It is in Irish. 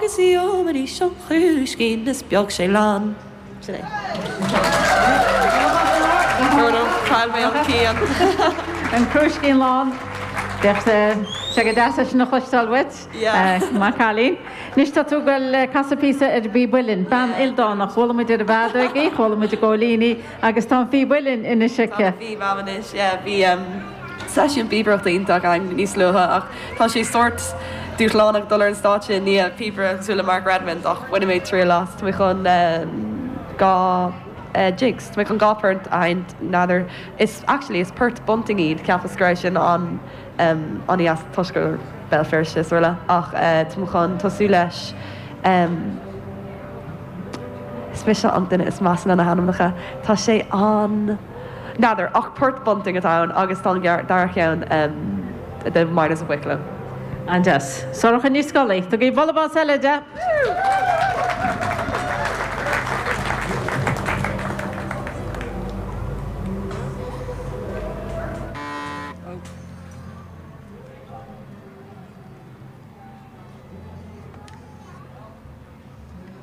Agus gheobhaidís an crúiscín is beadh sé lán. Sin é. Chaill mé an cian. An crúiscín lán. Bheadh sé go deas é sin a chloisteáil uait. Maith an cailín. Anois tá tú ag goil casadh píosa ar an bpíb uilleann. Bean ildánach. Chuala muid ar an bhfeadóg í, chuala muid an góilín í agus tá an phíb uilleann anois aici. Tá an phíb agam anois, yeah. Bhí seisiún píobaireachta iontach againn níos luaithe ach tá sé sórt dúshlánach dul ar an stáitse i ndiaidh píobaire cosúil le Mark Redmond ach bhain mé triail as. Tá mé chun 2 jigs, tá mé chun 2 port a sheinnt, n'fheadar, is actually is port Bunting iad, cheapas go raibh sin an an-dheas toisc gur Béal Feirste is araile ach tá mé chun tosú leis Is mise an duine is measa le na hainmneacha. Tá sé an. N'fheadar, ach port Bunting atá ann agus tá an dara cheann The Miners of Wicklow. An-deas. Sorcha Ní Scolaí. Tugaigí bualadh bos eile di!